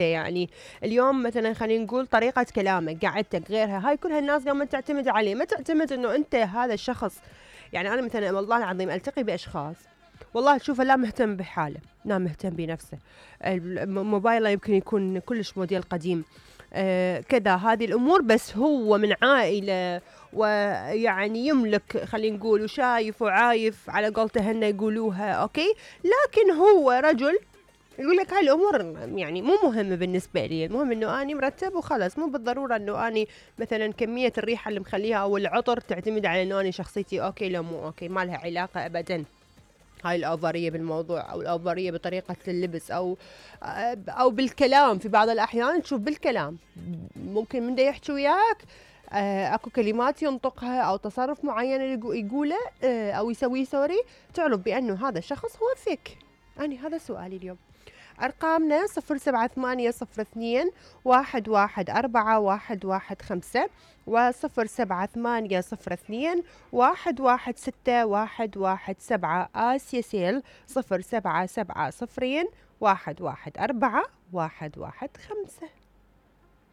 يعني اليوم مثلا خلينا نقول طريقة كلامك، قعدتك، غيرها، هاي كلها الناس قامت تعتمد عليه، ما تعتمد انه انت هذا الشخص. يعني انا مثلا والله العظيم التقي باشخاص والله تشوفه لا مهتم بحاله، لا مهتم بنفسه، موبايله يمكن يكون كلش موديل قديم، كذا هذه الامور، بس هو من عائله ويعني يملك خلينا نقول وشايف وعايف على قولته هن يقولوها، اوكي، لكن هو رجل يقول لك هاي الامور يعني مو مهمه بالنسبه لي، المهم انه اني مرتب وخلاص، مو بالضروره انه اني مثلا كميه الريحه اللي مخليها او العطر تعتمد على انه اني شخصيتي اوكي لو مو اوكي، ما لها علاقه ابدا. هاي الأوفرية بالموضوع أو الأوفرية بطريقة اللبس أو بالكلام، في بعض الأحيان تشوف بالكلام ممكن من دا يحكي وياك اكو كلمات ينطقها او تصرف معين يقوله او يسويه سوري، تعرف بانه هذا الشخص هو فيك. اني هذا سؤالي اليوم. أرقامنا 0782011415 و0780211617 آسيا سيل 0770 114 115.